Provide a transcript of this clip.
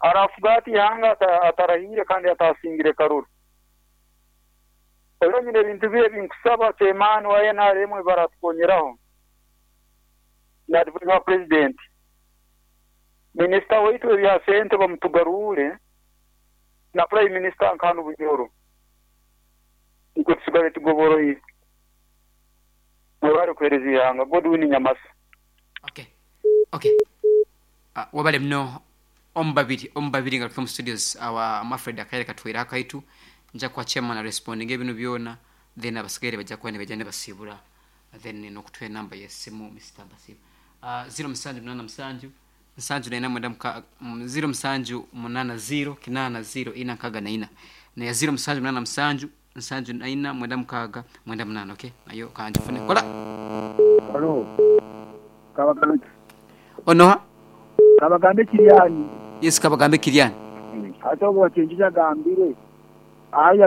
Araafuga ata eihanga atarahiire kandi ataasingire karuru? Oihireho nyine ebintu bibiri ebi nkusaba Chairman wa nrm ebi baratukonyeraho na advisor wa President. Minisita waitu w'ebya sente bamutugaruure na Prime Minister nka hanu Bunyoro nikwo tusigare tugoboroire. Mwebare kuheereza eihanga. Godwin Nyamasa. Okay. Okay. Uh, wabale muno omubabiri omubabiri ngaruke mu studios awa Alfred akaire katwire akaitu nja kuha chairman arespondinga ebinu byona then abasigaire bajja kuba nibaija nibasiibura then nokutuha enamba yesimu Mister Basiima. Uh, ziro musanju munana musanju nsanju naina mwenda muka ziro musanju munana ziro kinana ziro ina nkaga naina neya ziro musanju munana musanju nsanju naina mwenda mukaaga mwenda munana okay nayo kanjifune kola. Halo, Kabagambe. Onoha? Kabagambe Kiriani. Yes, Kabagambe Kiriani. Hati obwo Bakingi agambire. Aye.